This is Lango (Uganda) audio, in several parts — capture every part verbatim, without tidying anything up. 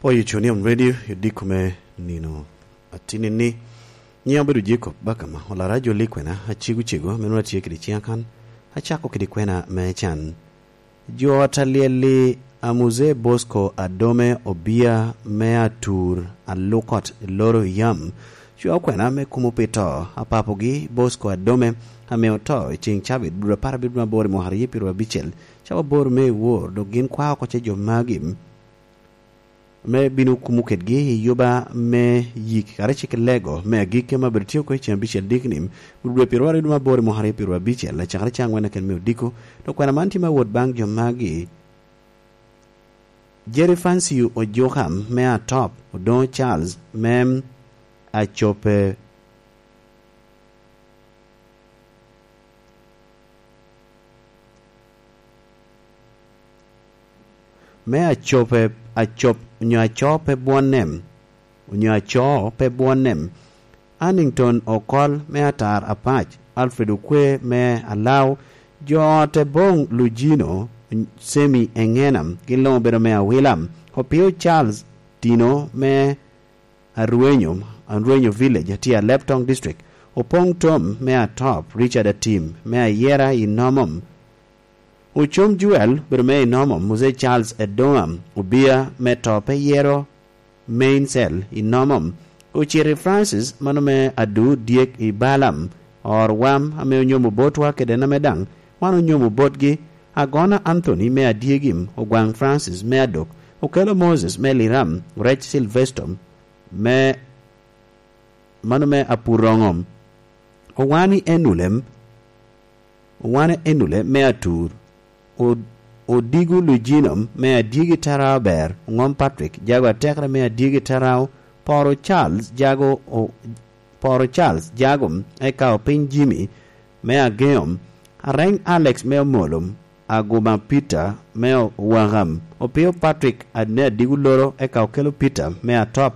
Pwoyo Conium Radio i odiko me nino atinni-ni. Nyiŋa obedo Jacob Bakama, olara jo likwena acego cego, ame nwoŋo atye kede ciŋa kan, acako kede kwena me can. Jo ata lyel-li, a Muzee Bosco Adome Obia me Atur, Alukot, Loro Yam, cwao kwena me kumo pi to a papogi, Bosco Adome, ame oto i ceŋ cabit dwe apar abiro me aboro i mwaka aryo pyeraryo abicel, cawa aboro me ewor, dok gin kwao oko ce jo magi me bino kumo kedgi i yuba me yik, kara cik lego me agikki ame abedo tye oko i ceŋ abicel dikni, dwe pyeraryo aryo dwe me aboro i mwaka aryo pyeraryo abicel, acakere caŋ angwen keken me odiko, dok kwena man tye me awot baŋ jo magi. Jerry Fancy Ojuka me Atop, Odoŋo Charles me Acope, me Acope, Acop, onyo Aco pe bwonnem, onyo Aco pe bwonnem, Annington Okol me Atar Apac, Alfred Okwe me Alao, jo ot Eboŋ Lujino, Semi Eŋena, gin luŋ obedo me Awila, Opio Charles Tino me Arwenyo, Arwenyo Village, atye Alep Town District, Opoŋ Tom me Atop, Richard Atim me Ayera i Nomom, Ocom Joel bedo me i Nomom, Muzee Charles Edoŋa, Obia me To pe Yero, Main Cell i Nomom, Ociri Francis, mano me Adu Dyek i Balam, Or Wam ame onyomo botwa kede en ame daŋ wan onyomo botgi, Agona Anthony me Adyegim, Ogwaŋ Francis me Adok, Okelo Moses me Liram, Rec Silvestom me, mano me Apuroŋom, Owani Enulem, Owani Enule me Atur, O-, Odigo Lujino me Adyegi Tarao ber, Oŋom Patrick, Jago Atekre me Adyegi Tarao, Poro Charles Jago, O-, Poro Charles Jago, eka Opiny Jimmy me Ageŋo, Areny Alex me Omolom, Aguma Peter me Owakam, Opio Patrick ad-, me Adigo Loro, eka Okelo Peter me Atop,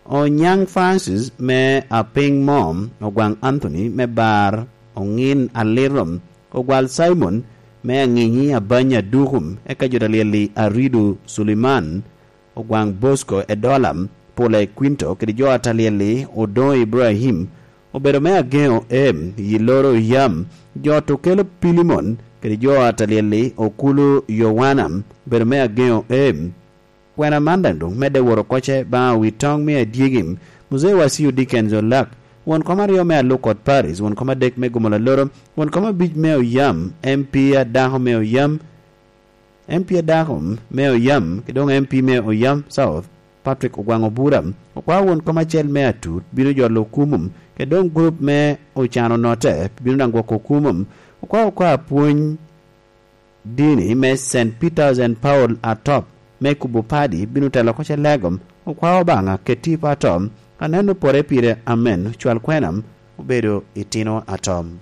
Onyaŋ Francis me Apiny Mom, Ogwaŋ Anthony me Bar, Oŋin Alirom, Ogwal Simon me Aŋinyi Abanya Dukum, eka jo ta lyel-li Arido Suliman, Ogwaŋ Bosco Edolam, Pule Quinto, kede jo ta lyel-li Odoŋo Ibrahim, obedo me Ageŋo Em, Yiloro Yam, jo to kelo Pilimon, kede jo ta lyel-li Okulu Yowana, obedo me Ageŋo Em. Kwena man daŋ doŋ medde wot oko ce baŋ Awitoŋ me Adyegim, Muzee Wasio Dickens Olak, won kom aryo me Alukot Paris, won kom adek me Gomol Aloro, won kom abic me Oyam, M P adako me Oyam, M P adako me Oyam, ki doŋ M P me Oyam South, Patrick Ogwaŋ Obura, okwao won kom acel me Atur bino jolo Okumum, kede doŋ gurup me Ocano Note bino daŋ gwoko Okumum, okwao okwao apwony dini me Saint Peter Saint Paul Atop me kubo padi bino telo oko ce legom, okwao Obaŋa keti i pato, aneno pore pire amen, ocwal kwenam obedo itino atom.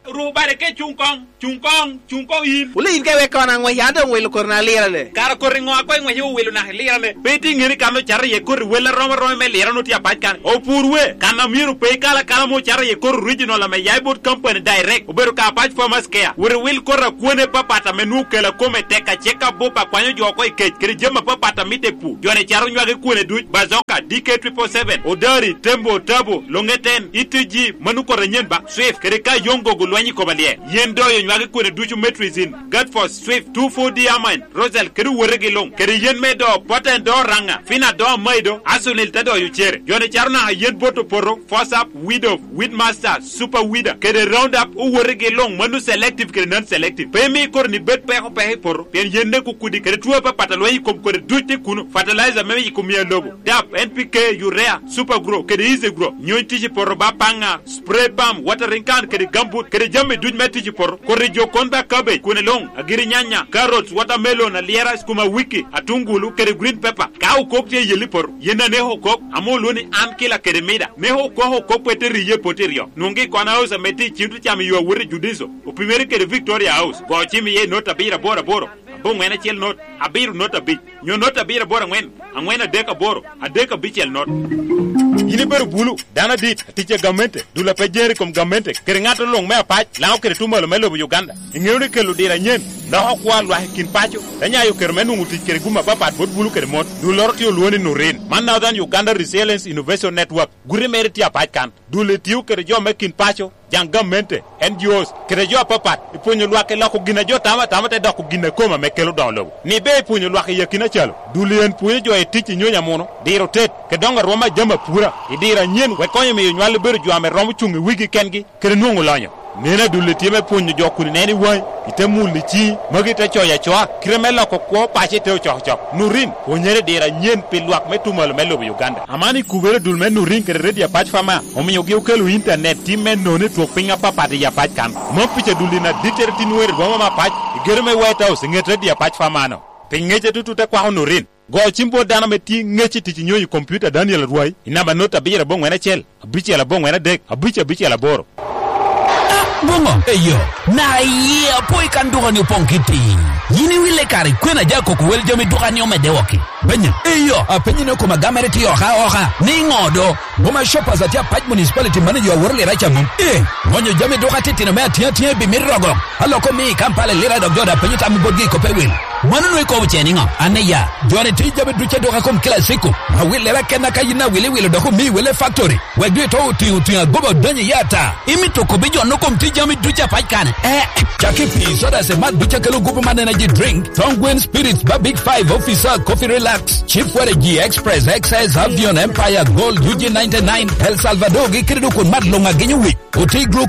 Ru bade ke cuŋ koŋ, cuŋ koŋ, cuŋ koŋ yin. Wule yin ka iwek kono aŋwec, an doŋ wilo koti na lirane. Kara koti ŋo a koŋ iŋwec iwilo naka ilirane? Pe itye ŋeni kan ocato iye koti wel arom aroma me lirane otye apac kan. Opur we, kan a myero pe ikal akala mo ocato iye koti original ame ya i bot company direct. Obedo ka Apac Farmers Care. Wot iwil koti a kwone papat ame nwoŋo kela kome tek, acek abup a kwanyo jo oko i kec, kede jami apapat a mitte i pur. Joni cato nywagi kwone duc, Bazooka, D K triple seven, Odari, Tembo, Tabo, Longeten, E T G, mano koti anyen ba, Swift, kede ka yoŋ gogo lweny i koma lye. Yen doyo nywagi kwone ducu, Metrizin, Gatfos, Swift, two four D Amine, Rosal, kede owotegi luŋ, kede yen me do, Poten do Raŋa, Fina do Maido, Asunil te doyo cere. Joni cato naka yen bot opoto, Fosap, Widow, Weedmaster, Super Weeder, kede Roundup, owotegi luŋ, mano selective kede non-selective. Pe imi koti ni bed peko peko i poto, pien yen neko kudi, kede two apapat a lweny i kom kodi duc tye kuno. Fertilizer me yiko mia lobo, dap, N P K, urea, Super Grow, kede Easy Grow. Nyony tic i poto ba paŋa, spray pump, watering can, kede gambut, kede jami duc me tic i poto. Koti jo kon ba cabbage, kwene luŋ, agiri nyanya, carrots, watermelon, alyera, skuma wiki, atungulu, kede green pepper. Ka okok tye i yelli poto, yen aneko okok, ame olwo ni an kila kede mida. Neko okok okok pe te riye poti ryo. Nwoŋgi i kona house ame tye i cim te camo yo awot i Judiso, opimere kede Victoria House. Go cim iye i not abiro aboro aboro, aboŋwen acel not, abiro not abic, nyo not abiro aboro aŋwen, aŋwen adek aboro, adek abicel not. Yin ibedo bulu, dano adit, atic a gamente, dul a pe jere i kom gamente, kede ŋat luŋ me apac, Laŋo kede Tumalo me lobo Uganda. Iŋeo ni kelo diro anyen loko kwo a lwak i kin paco, te nyayo kero me nwoŋo tic kede gum apapat bot bulu kede mon. Dulloro tye olwoŋo ni Nurin. Man Northern Uganda Resilience Innovation Network. Guti mere tye apac kan. Dul etio kede jo me kin paco, jaŋ gamente, N G Os, kede jo apapat, i pwonyo lwak i loko gin a jo tamo atama te doko gin a kome ame kelo doŋo lobo. Ni ber i pwonyo lwak i akina calo, dul en pwonyo jo i tic i nyonyo amuno, diro tet, kede doŋo arwom a jami apura, i diro anyen wek konyo miyo nywal obedo jo ame romo cuŋ i wigi kengi, kede nwoŋo lonyo. Neno adul tye me pwonyo jo kun ineno i waŋi, ite mulo i ciŋi, magi te coyo acoa, kite me loko kwo paco ite ocokocok. Nurin, pwonyere diro anyen pi lwak me Tumalo me lobo Uganda. Aman i kubere dul me Nurin kede Radio Apac Fama, omiogi okelo intanet tim me nono i twok piny apapat i Apac kan. Mom pica dul in adittere tin wer i boma me Apac, i gedo me White House, i ŋet Radio Apac Fama-no. Pi ŋec atutu te kwako Nurin. Go cim bot dano ame tye ŋec i tic i nyonyo i kompiuta Daniel Arwai, i namba not abiro aboŋwen acel, abicel aboŋwen adek, abic abicel aboro. Boŋo? Eyo, na iye apo i kan duka-ni opoŋ kiti. Yin iwille kare kwena ja koko wel jami duka-ni omedde wok-ki. Benya, eyo, apenyi ni okoma gamere tye oka oka, ni ŋo do? Boma Shoppers atye Apac Municipality Manager aworo lira ca mom. Eh, ŋonyo jami duka titino me atyŋ atyŋ i bimit rogo. Aloko mi i Kampala i lira dok jo da penyo tam botgi i kop ewil. Mano nwe ikobo ce niŋo? An iya, joni tye jami duc aduka kom kila ciko. Awillere akenna ka yin awil iwilo dok omi wele factory. Wek dwe to otiŋo otiŋo agoba odonyo iye ata. Imito kobbi jo no kom tye jami duc apac kane? Eh, caki pi soda se mat duc akelo gupu man energy drink, Tongue Gwen Spirits ba Big Five Officer Coffee Relax, Chief Waragi Express X S Avion Empire Gold U G ninety-nine, El Salvador gi kede dok kun mat luŋ agenyo wic. Oti glucose